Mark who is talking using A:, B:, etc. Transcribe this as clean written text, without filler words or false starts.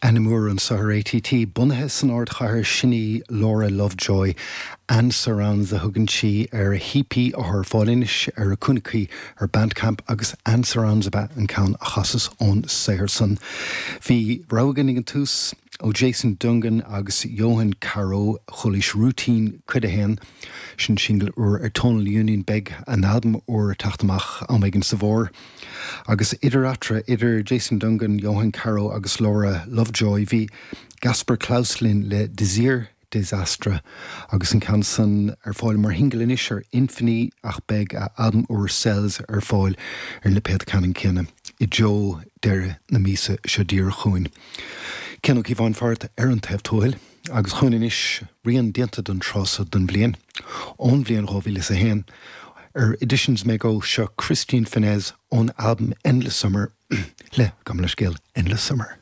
A: Ainm úr anseo ar ATT, bunaithe san ardchathair, sin í Laura Lovejoy. And Surrounds a thugann sí ar a hEP atá ar fáil anois ar a cúnamh cuí ar Bandcamp agus And Surrounds ab ea an ceann a chasas ón saothar san. Bhí rogha againn ag an tús ó Jason Dungan agus Johan Caro, chualaís Routine Cuid 1, sin singil úr ar Tonal Union, beidh a n-albam úr ag teacht amach am éigin sa bhfómhar. Agus idir eatarthu, idir Jason Dungan, Johan Caro agus Laura Lovejoy, bhí Gaspar Claus linn le Désir Désastre agus an ceann san ar fáil mar shingil anois ar Infini ach beidh a albam úr Cells ar fáil ar an lipéad ceannann céanna i dtreo deireadh na míosa seo díreach chugainn. Cian Ó Cíobháin fárat ar an taobh tuathail. Agus chugainn anois rian déanta don tráth so den bhliain, ón bhliain 2001, ar Editions Mego, seo Christine Fenez ón albam Endless Summer le, gabh mo leithscéal, Endless Summer.